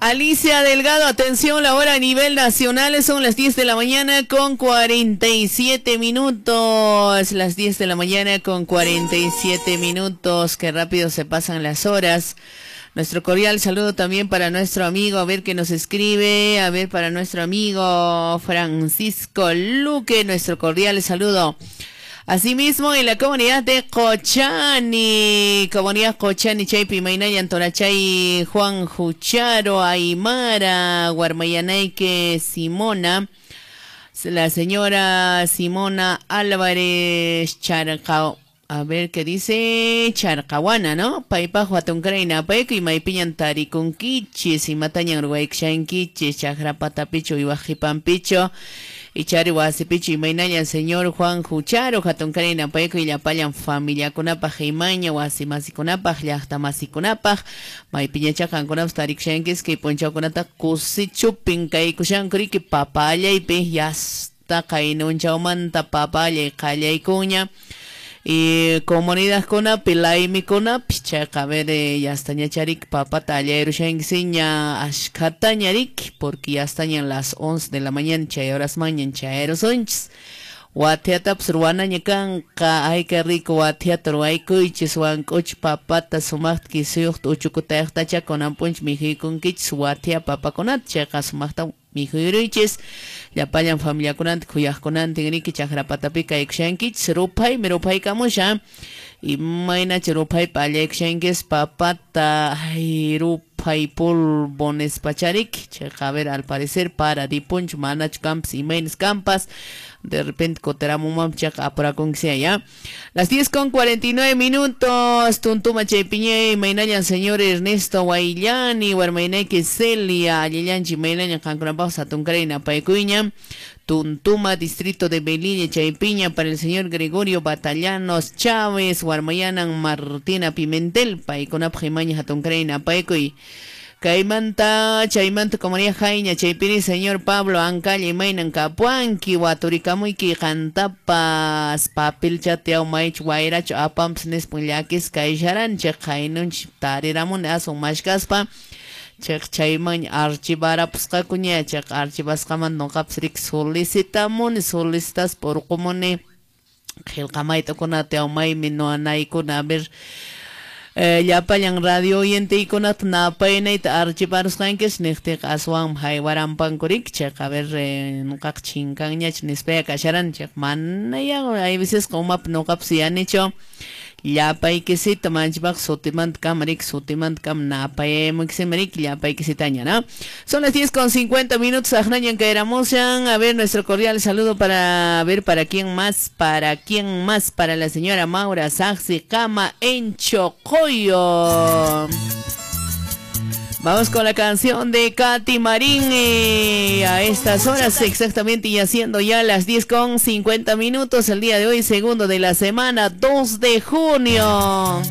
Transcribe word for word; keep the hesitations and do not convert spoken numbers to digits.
Alicia Delgado, atención, la hora a nivel nacional son las diez de la mañana con cuarenta y siete minutos. Las diez de la mañana con cuarenta y siete minutos. Qué rápido se pasan las horas. Nuestro cordial saludo también para nuestro amigo, a ver qué nos escribe, a ver para nuestro amigo Francisco Luque, nuestro cordial saludo. Asimismo, en la comunidad de Cochani, comunidad Cochani, Chaypi, Mainaya, Antonachay, Juan Jucharo, Aymara, Guarmayanaike, Simona, la señora Simona Álvarez Charcao. A ver qué dice Charcahuana, ¿no? Paipajo atuncraina, paico y maipiñan taricunquichis, y matañan ruaixanquichis, chajrapatapicho y guajipampicho, y chari huasipicho y mainañan señor Juan Jucharo, jatuncraina, paico y llapallan familia kunapaj, imaña, huasimasikunapaj, llajtamasikunapaj, maipiñachajankunapaj tarixanquis, que ponchaukunata kusichupin, kaikushankuriki, papayaypi, yasta kainunchaumanta, papayay, qallaykuña. Y comunidad kunapi, laimi kunapi, chayqa a ver, ya está ñacharik, papata allayruxanquisiña, ashkhatañarik, porque ya están en las once de la mañana, chay horas mañana, chayrusonchis. Watiatapas ruwanaña kanqa, ay qué rico watiata ruwaykuychis, wank'uch papata sumaqta kisuyuqta uchukutayaqtacha kunanpunch mikhuykunkichis watia papakunata, chayqa sumaqta mikhuyuruychis, llapallan familiakunanta khuyaqkunantin riki chakrapatapi kaykushankichis, ruphaymi ruphaykamusha, imaynacha ruphaypa allaykushankis papata, ay ruphay polvo nispacharik, chayqa a ver al parecer para dipunch manachu kampas imaynas kampas, de repente coteramumam chayqa apurakunkisia ya. Las diez con cuarenta y nueve minutos, tuntuma chaypiñay, imaynallan señor Ernesto Guayllani, warmaynayki Celia, allillanchi imaynañan qankunapaq satunkarayna paykuyña, Tuntuma, distrito de Belille, Chaypiña, para el señor Gregorio Batallanos Chávez, warmayanan Martina Pimentel, paykunapaq imaña hatunkarayna paykuy. Kaymanta, chaymanta, comunidad Jaiña, Chaypiri, señor Pablo Ancalla, imaynan kapuanki, waturikamuiki, qantapas, papilchateau, maich, wairacho, apamps, nispun llakis, kaysharanchik, qaynunch, tariramun, asun mashkaspa, chaq chayman archivarapusqakuña, chaq archivasqaman noqapas rik solicitamuni, solicitaspa urqumuni, qillqamaytakunata, maymi noanaykuna, a ver, Eh, llapallan radio oyenteykunata napaynayta archivarusqankish niqtiqa aswanmi haywarampankurik, chayqa a ver eh, nuqaqa chinkanñach nispaya kasharan, chayqa manaya hay veces umapi nuqapas yanichu llapaykisita manchipaq sutimanta kama rik sutimanta kama napayamuykisima rik llapaykisitaña, ¿no? Son las diez con cincuenta minutos, aqnañan kayramushan, a ver nuestro cordial saludo para a ver para quién más, para quién más, para la señora Maura Saxi Kama en Chocoyo. Vamos con la canción de Katy Marín, eh, a estas horas exactamente y haciendo ya las diez con cincuenta minutos el día de hoy, segundo de la semana, dos de junio.